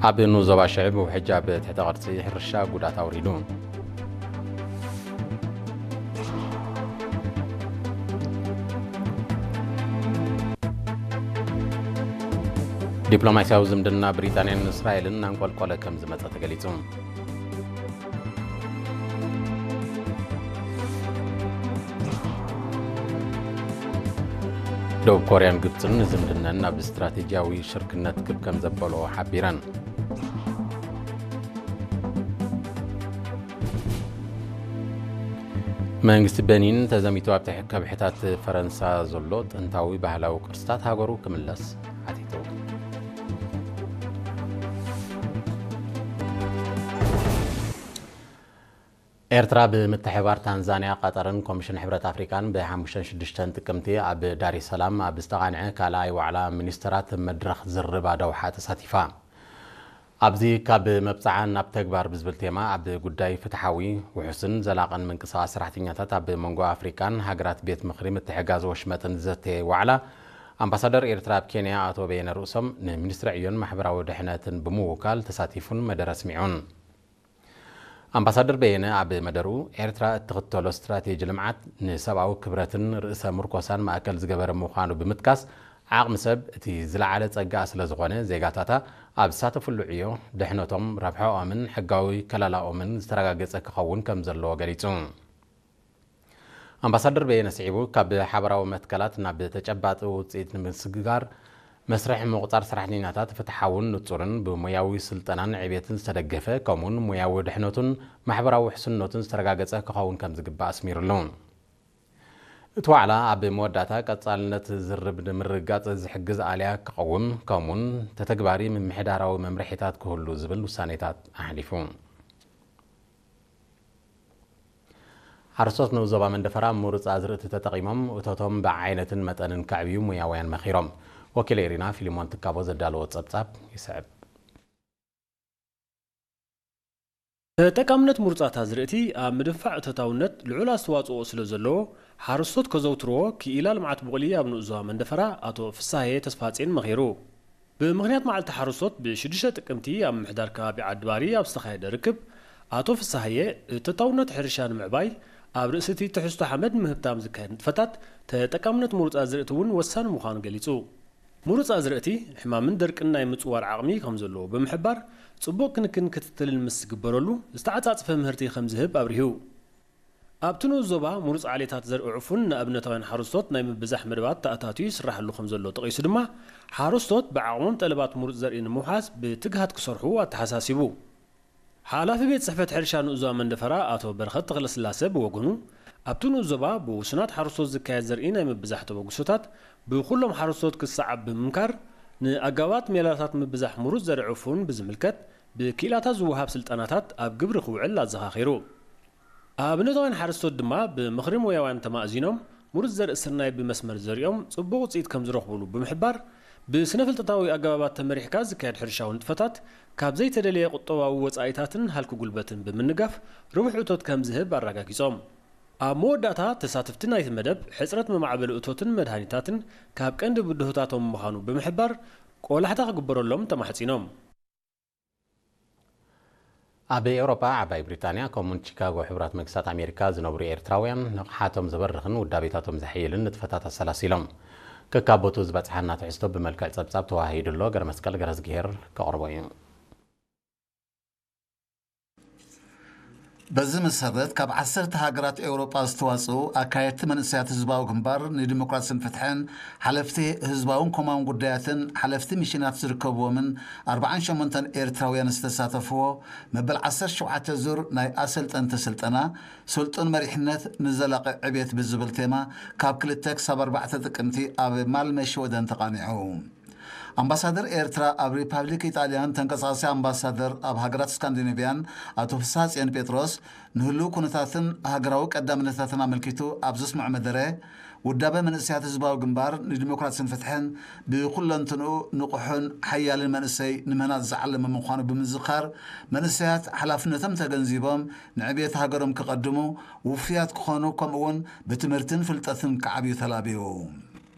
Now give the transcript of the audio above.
ኣብ ንኡስ ዞባ ሽዕብ ውሕጅ ኣብ ትሕተ ቅርጺ ሕርሻ ጉድኣት ኣውሪዱ። ዲፕሎማስያዊ ዝምድና ብሪጣንያን እስራኤልን እናንቆልቆለ ከም ዝመጸ ተገሊጹ። ደቡብ ኮርያን ግብጽን ዝምድነን ናብ ስትራቴጂያዊ ሽርክነት ክብ ከም ዘበሎ ሓቢረን። መንግስቲ በኒን ተዘሚቱ ኣብ ትሕ-፣ ከብሕታት ፈረንሳ ዘሎ ጥንታዊ ባህላዊ ቅርስታት ሃገሩ ክምለስ ሓቲቱ። ኤርትራ ብምትሕብባር ታንዛንያ፣ ቀጠርን ኮሚሽን ሕብረት ኣፍሪቃን ብሓሙሽተን ሽዱሽተን ጥቅምቲ ኣብ ዳሬ ሰላም ኣብ ዝተቓንዐ ካልኣይ ዋዕላ ሚኒስተራት መድረኽ ዝርርብ ኣደውሓ ተሳቲፋ። ኣብዚ ካብ መብጽዓ ናብ ተግባር ብዝብል ቴማ ኣብ ጉዳይ ፍትሓዊ፣ ውሑስን ዘላቕን ምንቅስቓስ ሰራሕተኛታት ኣብ መንጎ ኣፍሪቃን ሃገራት ቤት ምኽሪ ምትሕጋዝ ወሽመጥን ዝዘተየ ዋዕላ ኣምባሳደር ኤርትራ ኣብ ኬንያ ኣቶ በየነ ርእሶም ንሚኒስትሪ ዕዮን ማሕበራዊ ድሕነትን ብምውካል ተሳቲፉን መደረ ኣስሚዑን። ኣምባሳደር በየነ ኣብ መደርኡ፣ ኤርትራ እትኽተሎ ስትራቴጂ ልምዓት ንሰብኣዊ ክብረትን ርእሰ ምርኮሳን ማእከል ዝገበረ ምዃኑ ብምጥቃስ፣ ዓቕሚ ሰብ እቲ ዝለዓለ ጸጋኣ ስለ ዝኾነ፣ ዜጋታታ ኣብ ዝሳተፍሉ ዕዮ ድሕነቶም፣ ረብሓኦምን ሕጋዊ ከለላኦምን ዝተረጋገጸ ክኸውን ከም ዘለዎ ገሊጹ። ኣምባሳደር በየነ ስዒቡ፣ ካብ ሓበራዊ መትከላት ናብ ተጨባጢ ውጽኢት ንምስግጋር፣ መስርሕ ምቑጻር ሰራሕተኛታት ፍትሓውን ንጹርን ብሞያዊ ስልጠናን ዕቤትን ዝተደገፈ፣ ከምኡውን ሞያዊ ድሕነቱን ማሕበራዊ ውሕስነቱን ዝተረጋገጸ ክኸውን ከም ዝግባእ ኣስሚሩሉ። እቲ ዋዕላ ኣብ መወዳእታ ቀጻልነት ዝርርብ ንምርግጋጽ ዝሕግዝ ኣልያ ክቐውም፣ ከምኡውን ተተግባሪ ምምሕዳራዊ መምርሒታት ክህሉ ዝብል ውሳኔታት ኣሕሊፉ። ሓረስቶት ንኡስ ዞባ መንደፈራ ምሩጽ ኣዝርእቲ ተጠቒሞም እቶቶም ብዓይነትን መጠንን ከዕብዩ ሞያውያን መኺሮም። ወኪል ኤሪና ፊሊሞን ትካቦ ዘዳለዎ ጸብጻብ ይስዕብ። ተጠቃምነት ምሩጻት ኣዝርእቲ ኣብ ምድንፋዕ እቶታውነት ልዑል ኣስተዋጽኦ ስለ ዘለዎ፣ ሓረስቶት ከዘውትርዎ ክኢላ ልምዓት ቡቕሊ ኣብ ንኡስ ዞባ መንደፈራ ኣቶ ፍሳሃየ ተስፋጽዮን መኺሩ። ብምኽንያት መዓልቲ ሓረስቶት ብሽዱሽተ ጥቅምቲ ኣብ ምምሕዳር ከባቢ ዓዲባሪ ኣብ ዝተኻየደ ርክብ፣ ኣቶ ፍሳሃየ እቶታውነት ሕርሻ ንምዕባይ ኣብ ርእሲ እቲ ትሕዝቶ ሓመድ ምህብታም ዝካየድ ንጥፈታት ተጠቃምነት ምሩጽ ኣዝርእቲ እውን ወሳኒ ምዃኑ ገሊጹ። ምሩጽ ኣዝርእቲ ሕማምን ደርቅን ናይ ምጽዋር ዓቕሚ ከም ዘለዎ ብምሕባር፣ ጽቡቕ ክንክን ክትትልን ምስ ዝግበረሉ ዝተዓጻጸፈ ምህርቲ ከም ዝህብ ኣብሪሁ። ኣብቲ ንኡስ ዞባ ምሩጽ ዓሌታት ዘርኢ ዕፉን ንኣብነታውያን ሓረስቶት ናይ ምብዛሕ መደባት ተኣታትዩ ይስራሓሉ ከም ዘሎ ጠቒሱ ድማ፣ ሓረስቶት ብዓቕሞም ጠለባት ምሩጽ ዘርኢ ንምውሓስ ብትግሃት ክሰርሑ ኣተሓሳሲቡ። ሓላፊ ቤት ጽሕፈት ሕርሻ ንኡስ ዞባ መንደፈራ ኣቶ በረኸት ተኽለስላሰ ብወገኑ፣ ኣብቲ ንኡስ ዞባ ብውሱናት ሓረስቶት ዝካየድ ዘርኢ ናይ ምብዛሕ ተበግሶታት ብኹሎም ሓረስቶት ክሰዓብ ብምምካር፣ ንኣገባባት ሜላታት ምብዛሕ ምሩጽ ዘርኢ ዕፉን ብዝምልከት ብክኢላታት ዝወሃብ ስልጠናታት ኣብ ግብሪ ክውዕል ኣዘኻኺሩ። ኣብነታውያን ሓረስቶት ድማ ብምኽሪ ሞያውያን ተማእዚኖም ምሩጽ ዘርኢ ስርናይ ብመስመር ዘሪኦም ጽቡቕ ውጽኢት ከም ዝረኽቡሉ ብምሕባር፣ ብስነ ፍልጠታዊ ኣገባባት ተመሪሕካ ዝካየድ ሕርሻዊ ንጥፈታት ካብ ዘይተደለየ ቁጠባዊ ወጻኢታትን ሃልኪ ጉልበትን ብምንጋፍ ርቡሕ እቶት ከም ዝህብ ኣረጋጊጾም። ኣብ መወዳእታ፣ ተሳተፍቲ ናይቲ መደብ ሕጽረት መማዕበሊ እቶትን መድሃኒታትን ካብ ቀንዲ ብድሆታቶም ምዃኑ ብምሕባር፣ ቆላሕታ ክግበረሎም ተማሕጺኖም። ኣብ ኤውሮጳ ዓባይ ብሪጣንያ ከምኡውን ቺካጎ ሕቡራት መንግስታት ኣሜሪካ ዝነብሩ ኤርትራውያን ንቕሓቶም ዝበርኽን ውዳቤታቶም ዘሐይልን ንጥፈታት ኣሰላሲሎም። ከካብ ቦትኡ ዝበጽሓና ትሕዝቶ ብመልክዕ ጸብጻብ ተዋሂዱ ኣሎ። ገረመስቀል ገረዝግሄር ከቕርቦ እዩ። በዚ መሰረት፣ ካብ ዓሰርተ ሃገራት ኤውሮጳ ዝተዋጽኡ ኣካየድቲ መንእሰያት ህዝባዊ ግንባር ንዲሞክራስን ፍትሕን፣ ሓለፍቲ ህዝባውን ኮማውን ጉዳያትን ሓለፍቲ ሚሽናት ዝርከብዎምን ኣርባዓን ሸሞንተን ኤርትራውያን ዝተሳተፍዎ መበል ዓሰርተ ሸውዓተ ዙር ናይ ኣሰልጠንቲ ስልጠና፣ ስልጡን መሪሕነት ንዘላቒ ዕብየት ብዝብል ቴማ፣ ካብ ክልተ ክሳብ ኣርባዕተ ጥቅምቲ ኣብ ማልመ ሽወደን ተቓኒዑ። ኣምባሳደር ኤርትራ ኣብ ሪፓብሊክ ኢጣልያን ተንቀሳቓሲ ኣምባሳደር ኣብ ሃገራት ስካንዲኔቭያን ኣቶ ፍስሃጽዮን ጴጥሮስ፣ ንህሉው ኩነታትን ሃገራዊ ቀዳምነታትን ኣመልኪቱ ኣብ ዘስምዖ መደረ፣ ውዳበ መንእሰያት ህዝባዊ ግንባር ንዲሞክራስን ፍትሕን ብኩለንትንኡ ንቑሕን ሓያልን መንእሰይ ንምህናጽ ዝዓለመ ምዃኑ ብምዝኻር፣ መንእሰያት ሓላፍነቶም ተገንዚቦም ንዕብየት ሃገሮም ክቐድሙ፣ ውፉያት ክኾኑ፣ ከምኡ'ውን ብትምህርትን ፍልጠትን ክዓብዩ ተላብዩ።